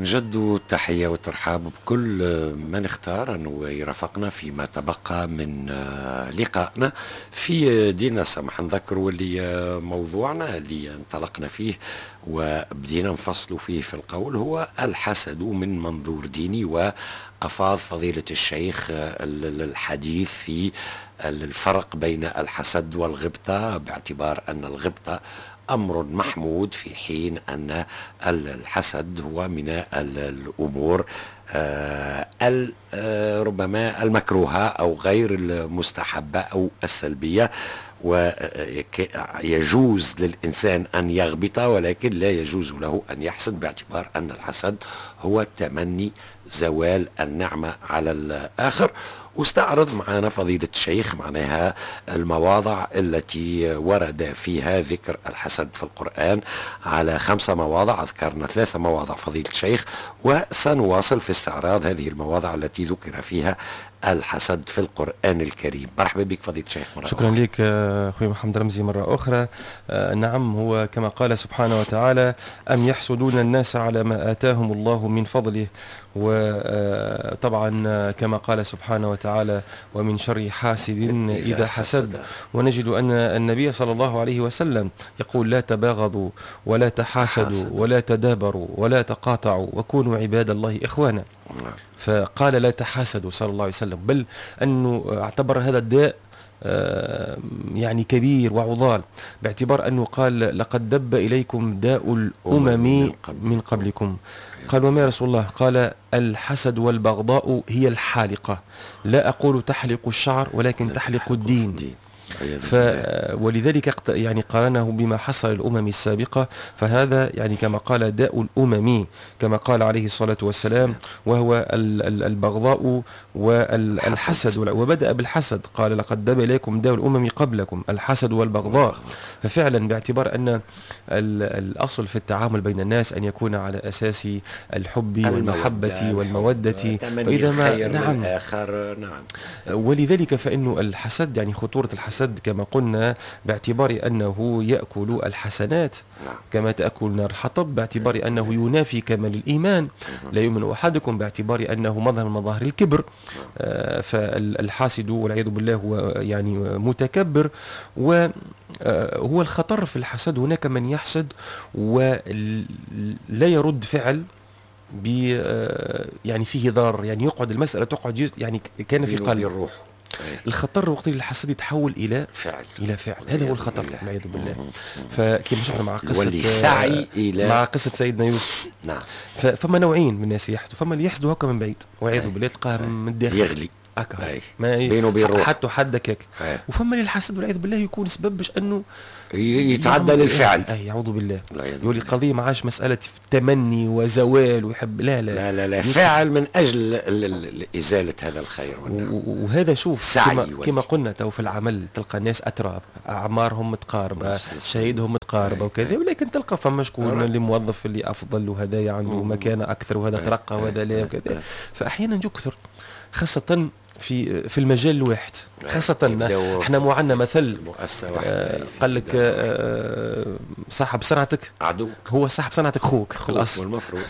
نجد التحية والترحاب بكل من اختار أنه يرافقنا فيما تبقى من لقائنا في ديننا السمح. نذكر اللي موضوعنا اللي انطلقنا فيه وبدينا نفصل فيه في القول هو الحسد من منظور ديني، وأفاض فضيلة الشيخ الحديث في الفرق بين الحسد والغبطة، باعتبار أن الغبطة أمر محمود في حين أن الحسد هو من الأمور ربما المكروهة أو غير المستحبة أو السلبية، ويجوز للإنسان أن يغبط ولكن لا يجوز له أن يحسد، باعتبار أن الحسد هو تمني زوال النعمة على الآخر. واستعرض معنا فضيلة الشيخ معناها المواضع التي ورد فيها ذكر الحسد في القرآن على 5 مواضع، ذكرنا 3 مواضع فضيلة الشيخ، وسنواصل في استعراض هذه المواضع التي ذكر فيها الحسد في القرآن الكريم. مرحبا بك فضيلة الشيخ مرة شكرا أخرى. لك أخوي محمد رمزي مرة أخرى. نعم، هو كما قال سبحانه وتعالى: أم يحسدون الناس على ما آتاهم الله من فضله. وطبعا كما قال سبحانه وتعالى: ومن شر حاسد إذا حسد. ونجد أن النبي صلى الله عليه وسلم يقول: لا تباغضوا ولا تحاسدوا ولا تدابروا ولا تقاطعوا وكونوا عباد الله إخوانا. فقال لا تحاسدوا صلى الله عليه وسلم، بل أنه اعتبر هذا الداء يعني كبير وعضال، باعتبار أنه قال: لقد دب إليكم داء الأمم من قبلكم. قال: وما يا رسول الله؟ قال: الحسد والبغضاء هي الحالقة، لا أقول تحلق الشعر ولكن تحلق الدين. ولذلك يعني قارنه بما حصل الأمم السابقة، فهذا يعني كما قال داء الأمم كما قال عليه الصلاة والسلام، وهو البغضاء والحسد. وبدأ بالحسد، قال: لقد دب إليكم داء الأمم قبلكم الحسد والبغضاء. ففعلا باعتبار أن الأصل في التعامل بين الناس أن يكون على أساس الحب والمحبة والمودة، فإذا ما نعم الآخر. نعم، ولذلك فإن الحسد يعني خطورة الحسد كما قلنا باعتبار أنه يأكل الحسنات كما تأكل نار الحطب، باعتبار أنه ينافي كمال الإيمان، لا يؤمن أحدكم، باعتبار أنه مظهر من مظاهر الكبر. فالحاسد والعياذ بالله هو يعني متكبر، وهو الخطر في الحسد. هناك من يحسد ولا يرد فعل يعني فيه ضرر، يعني يقعد المسألة تقعد يعني كان في قلب الروح. الخطر وقت الحسد يتحول الى فعل، الى فعل، هذا هو الخطر والعياذ بالله. فكما شفنا مع قصة سعي الى مع قصة سيدنا يوسف. نعم، فما نوعين من الناس يحسدوا، فما اللي يحسدوا هكا من بعيد والعياذ بالله تلقاه من الداخل يغلي هكا ما بينه وبين روحه حتى حد هكاك، وفما اللي الحسد والعياذ بالله يكون سبب باش انه يتعدى للفعل. اي يعوذ بالله، يولي القضية ما عادش مسالة تمني وزوال ويحب، لا لا لا لا, لا. فعل من اجل ازالة هذا الخير. وهذا شوف كما قلنا تو في العمل تلقى ناس اتراب، اعمارهم متقاربة، شهيدهم متقاربة وكذا، ولكن تلقى فما شكون اللي موظف اللي افضل، وهذا عنده مكانه اكثر، وهذا ترقى وهذا لا وكذا. فاحيانا يكثر خاصة في المجال الواحد، خاصة احنا مو عندنا مثل قال لك صاحب صنعتك عدوك، هو صاحب صنعتك خوك الاصل والمفروض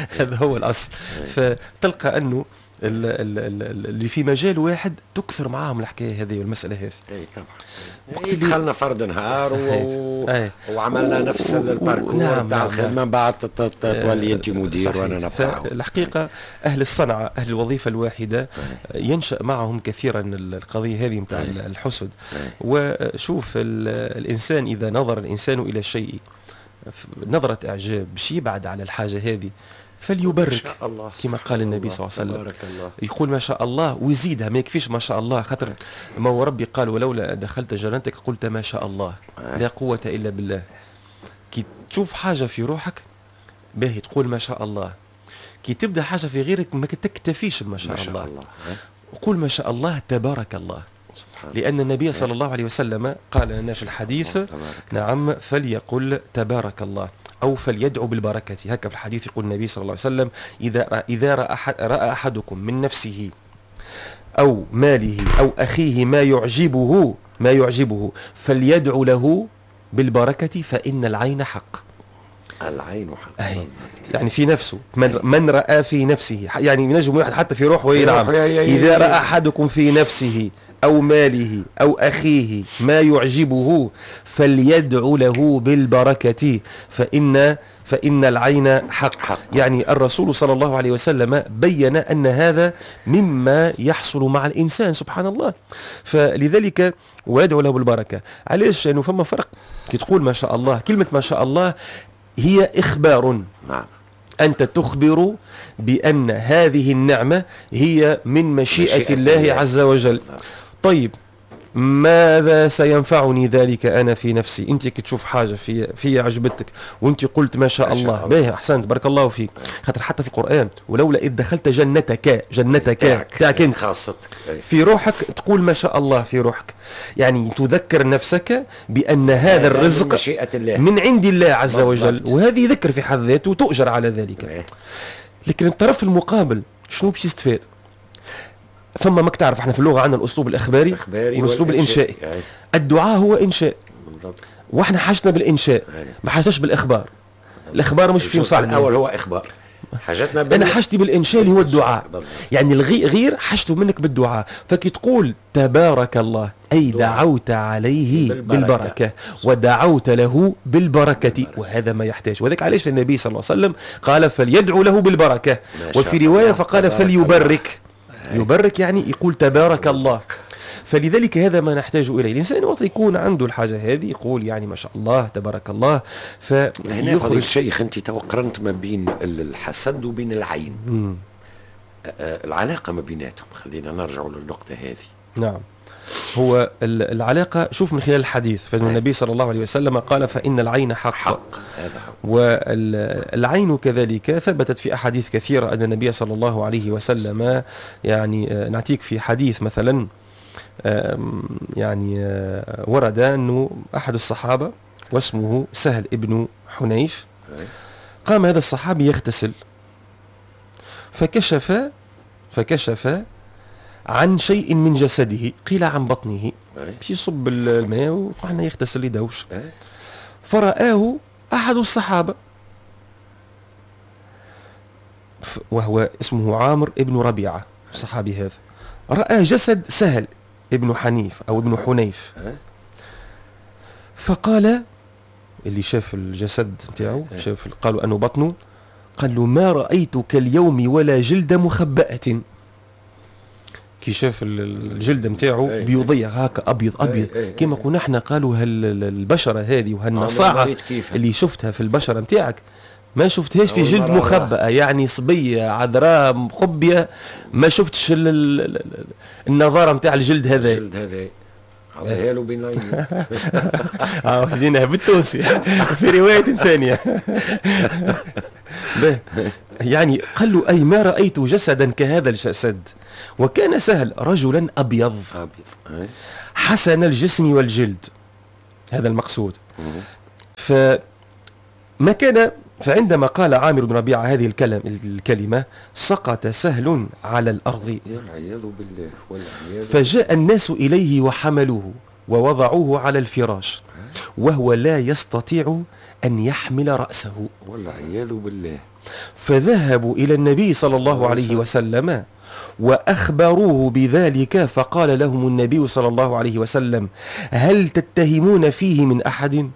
هذا هو الاصل. فتلقى انه اللي في مجال واحد تكثر معاهم الحكاية هذه والمسالة هذه. اي طبعا، وقت دخلنا فرد نهار وعملنا نفس ال parcours. نعم، تاع الخدمة، بعد تولي انت مدير وانا نبقى. الحقيقة اهل الصنعة، اهل الوظيفة الواحدة، ينشا معهم كثيرا القضية هذه نتاع الحسد. وشوف الانسان اذا نظر الانسان الى شيء نظره اعجاب باش يبعد على الحاجة هذه فليبرك، كما قال النبي صلى الله عليه وسلم. يقول ما شاء الله ويزيدها، ما يكفيش ما شاء الله، خاطر ما هو ربي قال: ولولا دخلت جنتك قلت ما شاء الله لا قوة إلا بالله. كي تشوف حاجة في روحك باهي تقول ما شاء الله، كي تبدأ حاجة في غيرك ما تكتفيش بما شاء الله، قول ما شاء الله تبارك الله. لأن النبي صلى الله عليه وسلم قال لنا في الحديث: نعم، فليقل تبارك الله أو فليدعو بالبركة. هكذا في الحديث يقول النبي صلى الله عليه وسلم: إذا رأى أحدكم من نفسه أو ماله أو أخيه ما يعجبه فليدعو له بالبركة فإن العين حق. العين حق. يعني في نفسه، من رأى في نفسه، يعني ينجم واحد حتى في روحه ينعم. إذا رأى أحدكم في نفسه أو ماله أو أخيه ما يعجبه فليدعو له بالبركة فإن العين حق. يعني الرسول صلى الله عليه وسلم بين أن هذا مما يحصل مع الإنسان سبحان الله، فلذلك ويدعو له بالبركة. علاش؟ لأنه فما فرق كي تقول ما شاء الله، كلمة ما شاء الله هي إخبار. نعم. أنت تخبر بأن هذه النعمة هي من مشيئة الله عز وجل. طيب ماذا سينفعني ذلك أنا في نفسي؟ أنت كي تشوف حاجة في عجبتك وأنت قلت ما شاء الله، باهي أحسنت بارك الله فيك. خاطر حتى في القرآن ولولا إذ دخلت جنتك، جنتك تاعك أنت خاصتك في روحك تقول ما شاء الله في روحك، يعني تذكر نفسك بأن هذا الرزق من عند الله عز وجل، وهذه ذكر في حد ذاته وتؤجر على ذلك. لكن الطرف المقابل شنو باش يستفاد؟ فما ماك تعرف احنا في اللغة عندنا الاسلوب الاخباري والاسلوب الانشائي. الدعاء هو انشاء بالضبط، واحنا حاجتنا بالانشاء ما حاجتناش بالاخبار. الاخبار مش في مصالحنا. الاول هو اخبار، حاجتنا انا حاجتي بالانشاء اللي هو الدعاء. بالضبط. يعني الغير حاجته منك بالدعاء، فكي تقول تبارك الله اي دعوت عليه بالبركة ودعوت له بالبركة، وهذا ما يحتاج. وذلك علاش النبي صلى الله عليه وسلم قال فليدعو له بالبركة، وفي رواية فقال فليبرك. يبرك يعني يقول تبارك الله. فلذلك هذا ما نحتاج إليه. الإنسان وقت يكون عنده الحاجة هذه يقول يعني ما شاء الله تبارك الله. هنا فضيلة الشيخ أنت قرنت ما بين الحسد وبين العين. العلاقة ما بيناتهم، خلينا نرجع للنقطة هذه. نعم، هو العلاقة شوف من خلال الحديث، فإن النبي صلى الله عليه وسلم قال فإن العين حق. هذا هو. والعين كذلك ثبتت في أحاديث كثيرة أن النبي صلى الله عليه وسلم يعني نعطيك في حديث مثلا، يعني ورد أنه أحد الصحابة واسمه سهل ابن حنيف، قام هذا الصحابي يغتسل فكشف عن شيء من جسده، قيل عن بطنه، باش يصب الماء وقعنا يغتسل يدوش. فرآه أحد الصحابة وهو اسمه عامر ابن ربيعة، الصحابي هذا رأى جسد سهل ابن حنيف أو ابن حنيف، فقال اللي شاف الجسد نتاعو، شاف قالوا أنه بطنه، قال له ما رأيتك اليوم ولا جلد مخبأة. كي شاف الجلد نتاعو بيضيع هكا ابيض ابيض كما قلنا احنا، قالوا هالبشره هذه وهالنصاعه اللي شفتها في البشرة نتاعك ما شفتهاش في جلد مخبأة، يعني صبية عذراء مخبيه ما شفتش النظارة نتاع الجلد هذا. الجلد هذا عطيها له بين العينين. جينا بالتونسي في رواية ثانية. يعني قال له اي ما رايت جسدا كهذا الجسد. وكان سهل رجلا أبيض حسن الجسم والجلد، هذا المقصود. فما كان، فعندما قال عامر بن ربيعة هذه الكلمة سقط سهل على الأرض والعياذ بالله والعياذ. فجاء الناس إليه وحملوه ووضعوه على الفراش وهو لا يستطيع أن يحمل رأسه والعياذ بالله. فذهبوا إلى النبي صلى الله عليه وسلم وأخبروه بذلك، فقال لهم النبي صلى الله عليه وسلم هل تتهمون فيه من أحد؟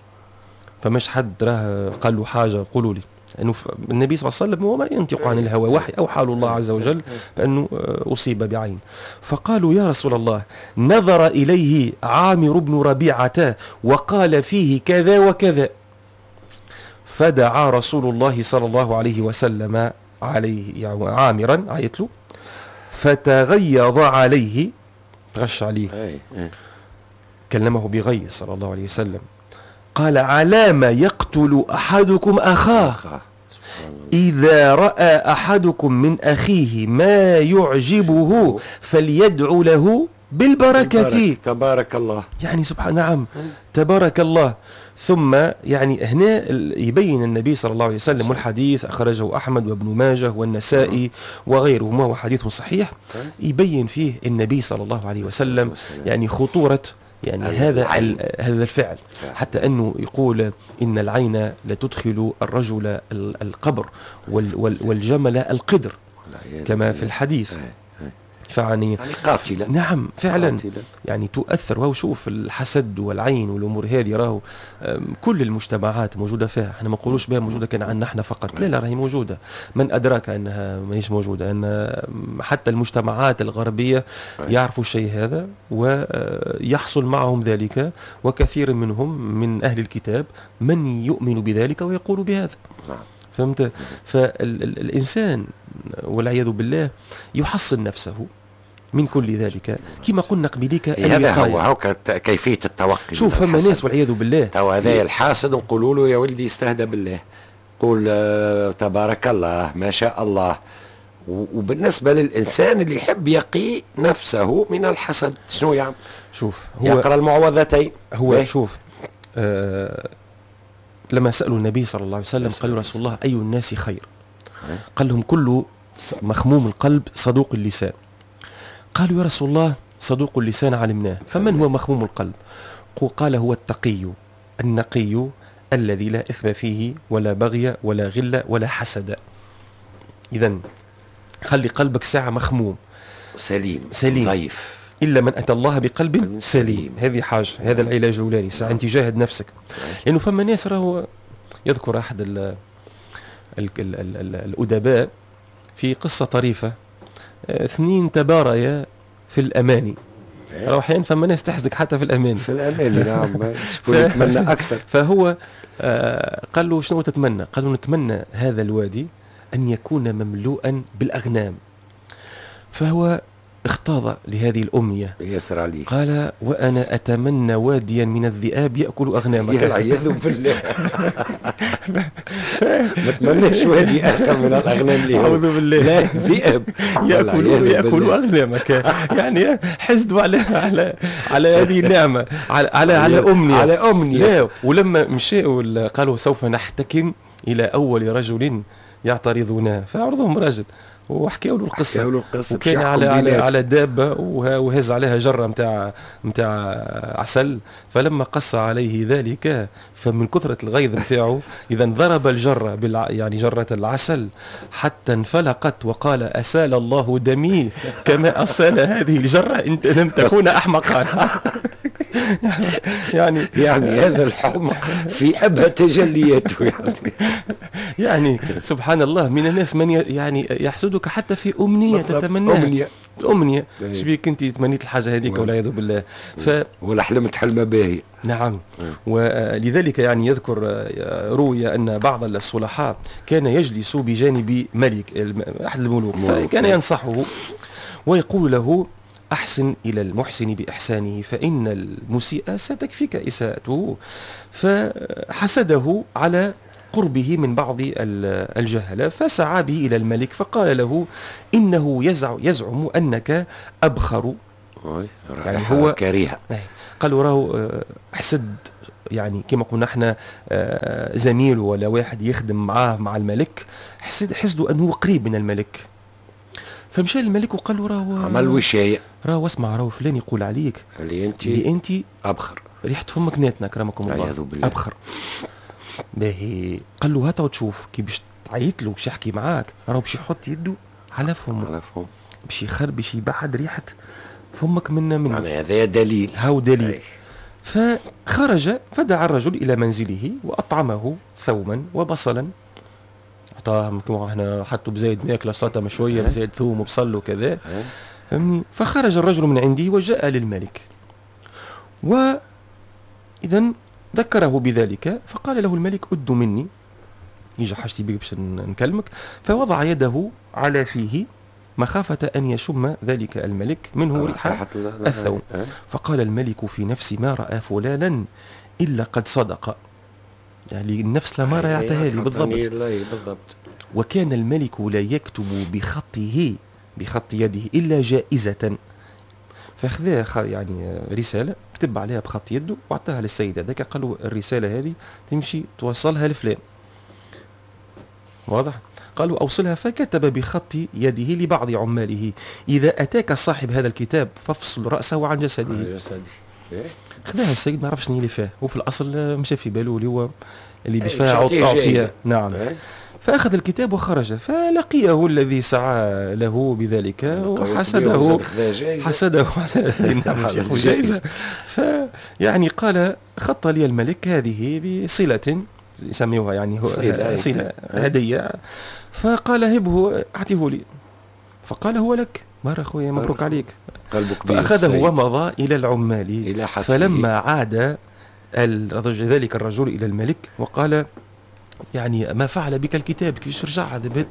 فمش حد راه قال له حاجة، قولوا لي. أنه النبي صلى الله عليه وسلم هو ما ينطق عن الهوى، وحي أوحى له الله عز وجل بأنه أصيب بعين. فقالوا يا رسول الله نظر إليه عامر بن ربيعة وقال فيه كذا وكذا. فدعا رسول الله صلى الله عليه وسلم عليه، يعني عامرا عيت له، فتغيظ عليه، تغش عليه، كلمة بغيظ صلى الله عليه وسلم، قال على ما يقتل أحدكم أخاه إذا رأى أحدكم من أخيه ما يعجبه فليدعو له بالبركة. تبارك الله، يعني سبحان، نعم تبارك الله. ثم يعني هنا يبين النبي صلى الله عليه وسلم، والحديث أخرجه أحمد وابن ماجه والنسائي وغيرهما وهو حديث صحيح، يبين فيه النبي صلى الله عليه وسلم يعني خطورة يعني هذا الفعل، حتى أنه يقول إن العين لتدخل الرجل القبر والجمل القدر كما في الحديث. فعني يعني قاتلة. نعم فعلا قاتلة. يعني تؤثر. وهو شوف الحسد والعين والأمور هذه راهو كل المجتمعات موجودة فيها، احنا ما نقولوش بها موجودة كان عندنا احنا فقط، لا لا راهي موجودة. من أدراك أنها ماهيش موجودة؟ أن حتى المجتمعات الغربية يعرفوا الشيء هذا ويحصل معهم ذلك، وكثير منهم من أهل الكتاب من يؤمن بذلك ويقول بهذا. فهمت؟ فالإنسان والعياذ بالله يحصن نفسه من كل ذلك كما قلنا قبليك. هذا هو كيفية التوقي. شوف فما ناس والعياذ بالله تو هذا الحاسد نقولوا له يا ولدي استهدى بالله، قول تبارك الله ما شاء الله. وبالنسبة للإنسان اللي يحب يقي نفسه من الحسد شنو يعمل؟ شوف هو يقرأ المعوذتين. هو شوف لما سألوا النبي صلى الله عليه وسلم قالوا رسول الله أي الناس خير؟ قال لهم كل مخموم القلب صدوق اللسان. قالوا يا رسول الله صدوق اللسان علمناه، فمن هو مخموم القلب؟ قال هو التقي النقي الذي لا إثم فيه ولا بغي ولا غل ولا حسد. إذن خلي قلبك ساعة مخموم سليم سليم ضيف، إلا من أتى الله بقلب سليم. هذه حاجة، هذا العلاج الأولاني، ساعة أنت جاهد نفسك. لأنه فما ناس راهو يذكر أحد ال ال ال ال الأدباء في قصة طريفة، اثنين تباريا في الأماني. راهو أحيانا فما ناس تحسدك حتى في الأماني. في الأماني نعم، شكون يتمنى أكثر. فهو قال له شنو تتمنى؟ قال له نتمنى هذا الوادي أن يكون مملوءا بالأغنام. فهو اختاض لهذه الأمنية. يسر عليه. قال وأنا أتمنى واديا من الذئاب يأكل أغنامك. والعياذ بالله. ما تمناش وادي آخر من الأغنام ليه. أعوذ بالله. لا ذئاب يأكل أغنامك. يعني حسدوا على على على هذه النعمة، على على على أمنية. على أمنية. لا، ولما مشاوا قالوا سوف نحتكم إلى أول رجل يعترضنا، فعرضهم رجل وحكاوا له القصة، وكان على على على دابة وهز عليها جره نتاع عسل، فلما قص عليه ذلك فمن كثرة الغيظ نتاعو اذا ضرب الجرة يعني جره العسل حتى انفلقت، وقال اسال الله دمي كما اسال هذه الجرة ان لم تكون احمقا. يعني هذا الحمق في ابهى تجلياته. يعني سبحان الله، من الناس من يعني يحسدك حتى في امنية تتمناها. امنية شبيك انت تمنيت الحاجة هذيك والعياذ بالله. ولا حلمت حلمه باهيه. نعم. ولذلك يعني يذكر روي ان بعض الصلحاء كان يجلس بجانب ملك احد الملوك، فكان ينصحه ويقول له أحسن إلى المحسن بإحسانه فإن المسيء ستكفيك إساءته. فحسده على قربه من بعض الجهلة، فسعى به إلى الملك فقال له إنه يزعم أنك أبخر. يعني هو كريهة. قالوا راهو حسد، يعني كما قلنا احنا زميل ولا واحد يخدم معاه مع الملك، حسده أنه قريب من الملك. فمشى للملك وقال له راهو عمل وشاية، راهو اسمع، راهو فلان يقول عليك اللي انت ابخر، ريحة فمك ناتنا كرمكم الله، ابخر. باهي. قال له هات وتشوف كي باش تعيط له باش يحكي معاك، راهو باش يحط يده على فمه، على فمه باش يخرب، باش يبعد ريحة فمك من يعني هذا دليل، هاو دليل. فخرج فدعا الرجل الى منزله واطعمه ثوما وبصلا، عطاهم كما احنا حطوا بزايد ماكله سلطة مشوية بزايد ثوم وبصل وكذا، فهمني. فخرج الرجل من عنده وجاء للملك، واذا ذكره بذلك، فقال له الملك أد مني، يجي حاجتي بك باش نكلمك. فوضع يده على فيه مخافة أن يشم ذلك الملك منه ريح الثوم. فقال الملك في نفسي ما رأى فلانا إلا قد صدق، يعني النفس لما رأى يعطيها لي بالضبط. وكان الملك لا يكتب بخطه بخط يده إلا جائزة، فأخذها يعني رسالة كتب عليها بخط يده وأعطاها للسيد هذاك، قال له الرسالة هذه تمشي توصلها لفلان، واضح؟ قالوا أوصلها، فكتب بخط يده لبعض عماله إذا أتاك صاحب هذا الكتاب فافصل رأسه عن جسده. خذاها السيد ما عرفش شنو اللي فيه، وفي الاصل مشى في باله اللي هو اللي باش فيها اعطيه. نعم. فأخذ الكتاب وخرج، فلقيه الذي سعى له بذلك وحسده، حسده على الجائزة. فيعني قال خط لي الملك هذه بصلة، يسميوها يعني صلة هدية. فقال هبه أعطيه لي، فقال هو لك، مرة خويا مبروك عليك. فأخذه ومضى إلى العمال. فلما عاد ذلك الرجل إلى الملك وقال يعني ما فعل بك الكتاب، كيفاش رجع هذا بيت؟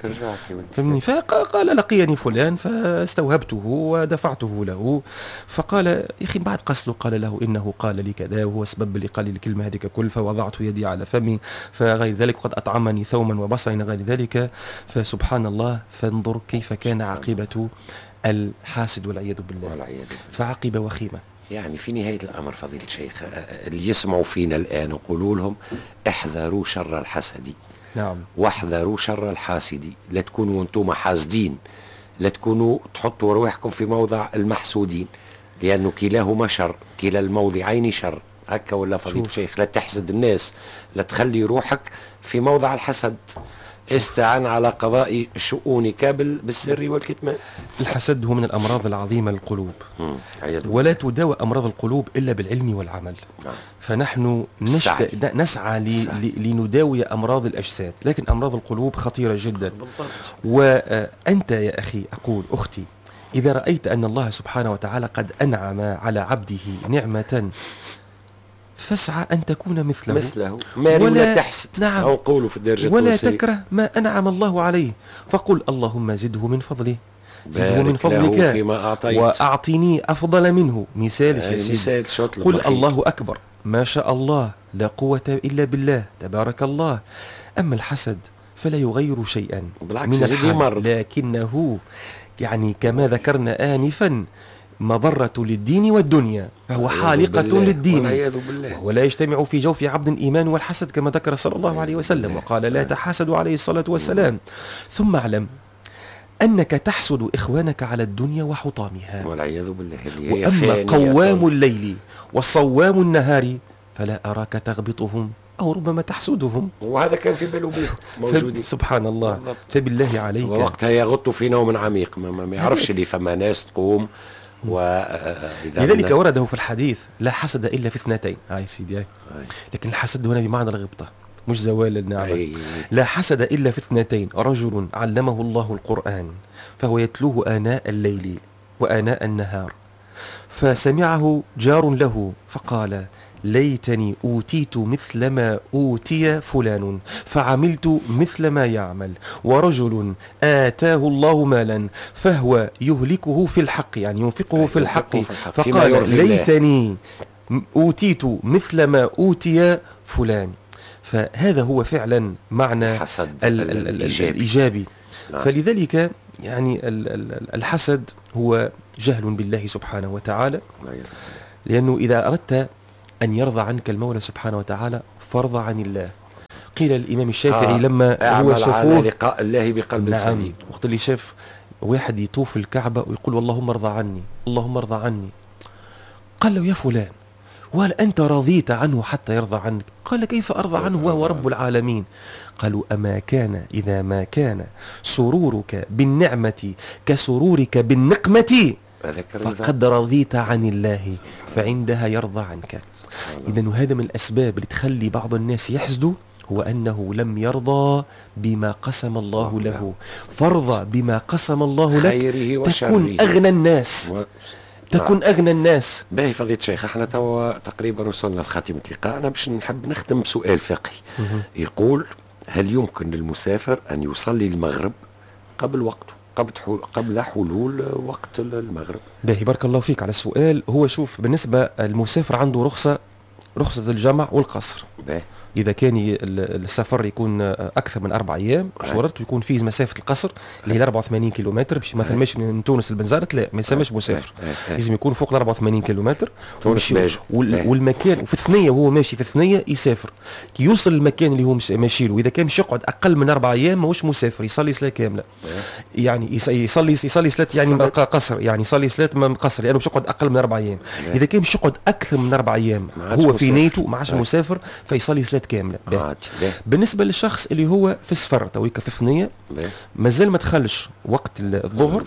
فهمني؟ فقال لقيني فلان فاستوهبته ودفعته له. فقال يا اخي بعد قصله، قال له انه قال لي كذا وهو سبب اللي قال لي الكلمة هذيك كل، فوضعت يدي على فمي فغير ذلك، وقد اطعمني ثوما وبصلا غير ذلك. فسبحان الله، فانظر كيف كان عاقبة الحاسد والعياذ بالله، فعاقبه وخيمة. يعني في نهاية الأمر فضيلة الشيخ، اللي يسمعوا فينا الآن نقولوا لهم احذروا شر الحسد. نعم. واحذروا شر الحاسد، لا تكونوا أنتم حاسدين، لا تكونوا تحطوا أرواحكم في موضع المحسودين، لأنه كلاهما شر، كلا الموضعين شر. هكا ولا فضيلة الشيخ؟ لا تحسد الناس، لا تخلي روحك في موضع الحسد. استعن على قضاء شؤونك بالسر والكتمان. الحسد هو من الأمراض العظيمة للقلوب، ولا تداوى أمراض القلوب إلا بالعلم والعمل. نعم. فنحن نسعى لنداوي أمراض الأجساد، لكن أمراض القلوب خطيرة جدا. بالضبط. وأنت يا أخي، أقول أختي، إذا رأيت أن الله سبحانه وتعالى قد أنعم على عبده نعمة، فاسعى أن تكون مثله ولا تحسد. نعم. أو قولوا في الدرجة ولا تكره ما أنعم الله عليه، فقل اللهم زده من فضله، زده من فضلك فيما أعطيت، وأعطني أفضل منه. مثال يا سيدي، قل الله أكبر، ما شاء الله، لا قوة إلا بالله، تبارك الله. أما الحسد فلا يغير شيئا من الحال، لكنه يعني كما ذكرنا آنفا مضرة للدين والدنيا، فهو حالقة للدين، ولا يجتمع في جوف عبد إيمان والحسد كما ذكر صلى الله عليه وسلم، وقال لا تحاسدوا عليه الصلاة والسلام. ثم اعلم أنك تحسد إخوانك على الدنيا وحطامها والعياذ بالله. وأما قوام الليل وصوام النهار فلا أراك تغبطهم أو ربما تحسدهم، وهذا كان في باله به موجودين. سبحان الله. بالضبط. فبالله عليك، وقتها يغط في نوم عميق، ما يعرفش اللي فما ناس تقوم. لذلك ورده في الحديث لا حسد إلا في اثنتين. هاي سيدي، هاي. لكن الحسد هنا بمعنى الغبطة مش زوال النعمة. لا حسد إلا في اثنتين: رجل علمه الله القرآن فهو يتلوه آناء الليل وآناء النهار، فسمعه جار له فقال ليتني أوتيت مثل ما أوتي فلان فعملت مثل ما يعمل. ورجل آتاه الله مالا فهو يهلكه في الحق، يعني ينفقه في الحق، فقال ليتني أوتيت مثل ما أوتي فلان. فهذا هو فعلا معنى الحسد الإيجابي. نعم. فلذلك يعني الحسد هو جهل بالله سبحانه وتعالى، لأنه إذا أردت أن يرضى عنك المولى سبحانه وتعالى فارضى عن الله. قيل الإمام الشافعي لما هو شافوه لقاء الله بقلب نعم، سليم، وقت اللي شاف واحد يطوف الكعبة ويقول اللهم ارضى عني اللهم ارضى عني، قال له يا فلان وهل أنت رضيت عنه حتى يرضى عنك؟ قال كيف أرضى عنه وهو رب العالمين؟ قالوا أما كان إذا ما كان سرورك بالنعمة كسرورك بالنقمة فقد رضيت عن الله، فعندها يرضى عنك. إذن هذا من الأسباب اللي تخلي بعض الناس يحسدوا، هو أنه لم يرضى بما قسم الله له. فارضى بما قسم الله لك تكون أغنى الناس، تكون أغنى الناس. باهي فضيلة الشيخ، احنا توا تقريبا وصلنا لخاتمة لقائنا، باش نحب نختم بسؤال فقهي يقول: هل يمكن للمسافر أن يصلي المغرب قبل وقته، قبل حلول وقت المغرب؟ باهي، بارك الله فيك على السؤال. هو شوف، بالنسبة المسافر عنده رخصة رخصة الجمع والقصر. إذا كان السفر يكون أكثر من 4 أيام شرط يكون فيه مسافة القصر اللي هي 84 كيلومتر، باش مثلا ماشي من تونس لبنزرت لا ما يسمىش مسافر، لازم يكون فوق 84 كيلومتر. والمكان وفي الثنية وهو ماشي في الثنية يسافر، كي يوصل المكان اللي هو ماشي له إذا كان مش يقعد أقل من 4 أيام ماهوش مسافر، يصلي صلاة كاملة. يعني يصلي صلاة يعني قصر، يعني يصلي صلاة قصر لأنه باش يقعد أقل من 4 أيام. إذا كان باش يقعد أكثر من 4 أيام هو في نيته ما عادش مسافر فيصلي صلاة كاملة. بالنسبة للشخص اللي هو في السفر تويكا في الثنية مازال ما دخلش وقت الظهر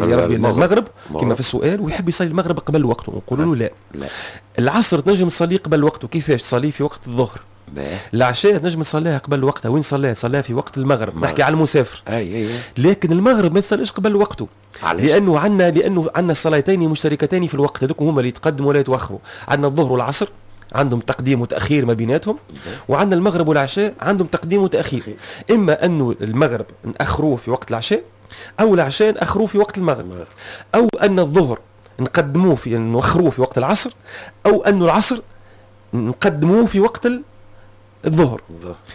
يا ربي المغرب كما في السؤال، ويحب يصلي المغرب قبل وقته، نقولوا له لا. العصر تنجم تصليه قبل وقته، كيفاش؟ تصليه في وقت الظهر. العشاء تنجم تصليها قبل وقتها، وين صليها؟ تصليها في وقت المغرب، نحكي على المسافر. لكن المغرب ما تصليش قبل وقته، لانه عندنا صلاتين مشتركتين في الوقت، هذوك هما اللي يتقدموا ولا يتوخروا. عندنا الظهر والعصر عندهم تقديم وتأخير ما بيناتهم، وعندنا المغرب والعشاء عندهم تقديم وتأخير. إما أنه المغرب نأخروه في وقت العشاء، أو العشاء نأخروه في وقت المغرب، أو أن الظهر نقدموه في نوخروه في وقت العصر، أو أن العصر نقدموه في وقت الظهر.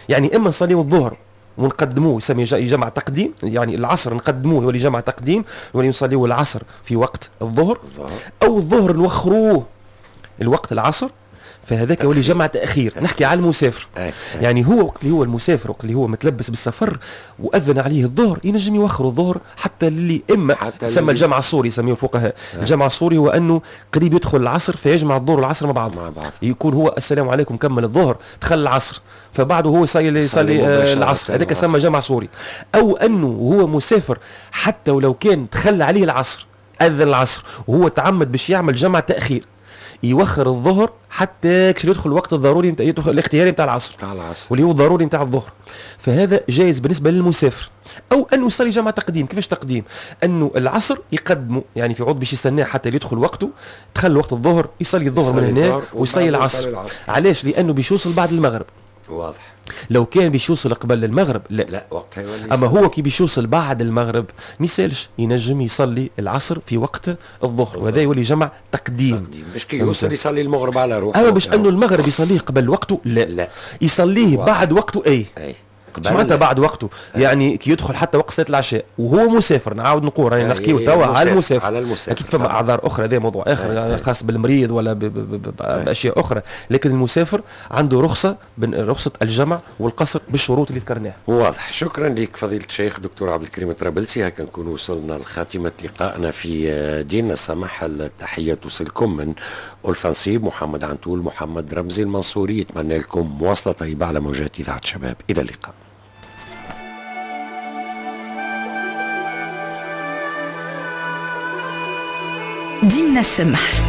يعني إما نصليو الظهر ونقدموه يسمي جمع تقديم، يعني العصر نقدموه يولي جمع تقديم، يولي نصليو العصر في وقت الظهر، أو الظهر نوخروه الوقت العصر، فهذاك يولي جمع تأخير. نحكي على المسافر. يعني هو وقت اللي هو المسافر، وقت اللي هو متلبس بالسفر وأذن عليه الظهر، ينجم يوخر الظهر حتى اللي إما سمى الجمع الصوري، يسميه الفقهاء الجمع الصوري، هو أنه قريب يدخل العصر فيجمع الظهر والعصر مع بعض. يكون هو السلام عليكم كمل الظهر دخل العصر، فبعده هو يصلي العصر، هذاك سمى جمع صوري. أو أنه هو مسافر حتى ولو كان دخل عليه العصر، أذن العصر وهو تعمد باش يعمل جمع تأخير، يوخر الظهر حتى يدخل الوقت الضروري يدخل الاختياري نتاع العصر واللي هو الضروري نتاع الظهر، فهذا جائز بالنسبة للمسافر. او انه يصلي جمع تقديم. كيفاش تقديم؟ انه العصر يقدمه، يعني في عوض باش يستناه حتى يدخل وقته، دخل وقت الظهر يصلي الظهر من هنا ويصلي العصر. علاش؟ لانه باش يوصل بعد المغرب. واضح. لو كان باش يوصل قبل المغرب لا، لا وقتها يولي. اما هو كي باش يوصل بعد المغرب ما يسالش، ينجم يصلي العصر في وقت الظهر، وهذا يولي جمع تقديم. باش كي يوصل يصلي المغرب على روحه. اما باش انه المغرب يصليه قبل وقته لا، لا. يصليه بعد وقته. اي معناتها بعد وقته؟ يعني كي يدخل حتى وقت صلاة العشاء وهو مسافر. نعاود نقول راني نحكيو توا على المسافر، على المسافر. اكيد فما اعذار اخرى، هذا موضوع اخر خاص بالمريض ولا باشياء اخرى، لكن المسافر عنده رخصه، رخصه الجمع والقصر بالشروط اللي ذكرناها. واضح. شكرا لك فضيلة الشيخ دكتور عبد الكريم الطرابلسي. هكا نكون وصلنا لخاتمه لقائنا في ديننا السمح. التحية توصلكم من ألفا نصيب، محمد عنتول، محمد رمزي المنصوري. يتمنى لكم مواصلة طيبة على موجات اذاعة شباب. الى اللقاء. ديننا السمح.